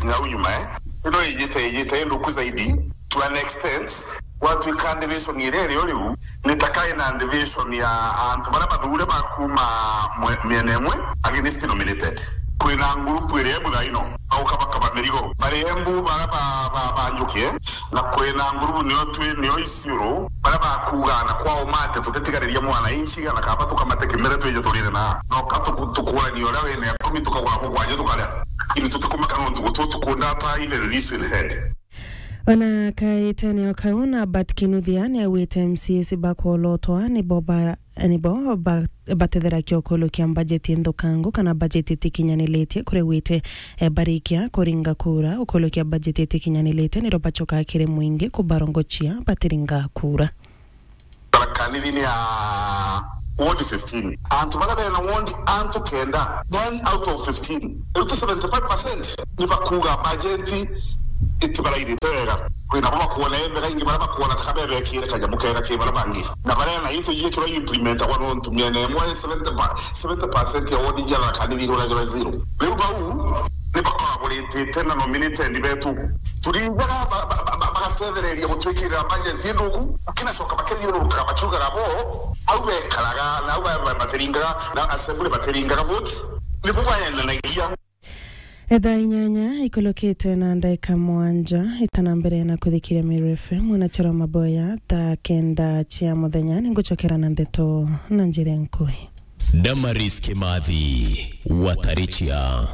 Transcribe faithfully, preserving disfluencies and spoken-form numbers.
Nau nyuma, eh? Ino ijite, ijite nduku zaidi, to an extent, gwatuika division iria irio riu, ni ta kai na division ya antu baria bathure ba kuma mwe-, miena imwe against nominated. Kwina ngurupu iria ibuthaino, baukabakaba mirigo. Bari embu baria ba, ba, ba njuki, eh? Na kwina ngurupu nio twi, nio Isiolo, baria bakuuga na kwao mate, tutitigaririe mwananchi, na kaba tukamate kimere twije turire na. No ka tuku-, tukurania uria wina ikumi, tukagura mugwanja tukaria. Lakini tutikumaka nontu gutu tukunda ata even this will head. Ona kaitene o kau, Norbert Kinuthia niaugite M C As bakwolotwa nibo ba, nibo ba, batetheragia ukulukia mbajeti nthukangu kana mbajeti itikinyanilitie, kuria augite, eh, barikia kuringa kura, ukulukia mbajeti itikinyanilitie, niro bachokaa kiri mwingi kubarongochia batiringa kura. Tharaka Nithi ni ya ward fifteen. Antu baria bena ward antu kenda, ten out of fifteen, riu ti seventy-five percent, ni bakuuga bajeti itibarairite wega. Kwina bo bakwona embega, ingi baria bakwona taka bebekire kanyamu kega ki baria bangi. Na baria na into ijikirwa implementagwa nontu miena imwe seventy pa-, seventy percent ya ward ijia Tharaka Nithi iruragirwa zero. Riu bau ni bakoraboritite na nominated betu. Turindaga ba-, ba-, ba-, ba-, bagatethereria gutwikirira budget indugu, bakinacoka bakethiururukaga bakiugaga bo, au bekaraga, na au ba-, ba-, batiringaga, na assembly batiringaga vote, nibo baenanagia. Etha inyanya ikulukite na ndaika mwanja itana mbere na kuthikiria Meru F M, mwanachara wa maboya, thaa kenda cia muthenya, ningucokera na ndeto na njira nkuhi. Damaris Kimathi, Watarichia.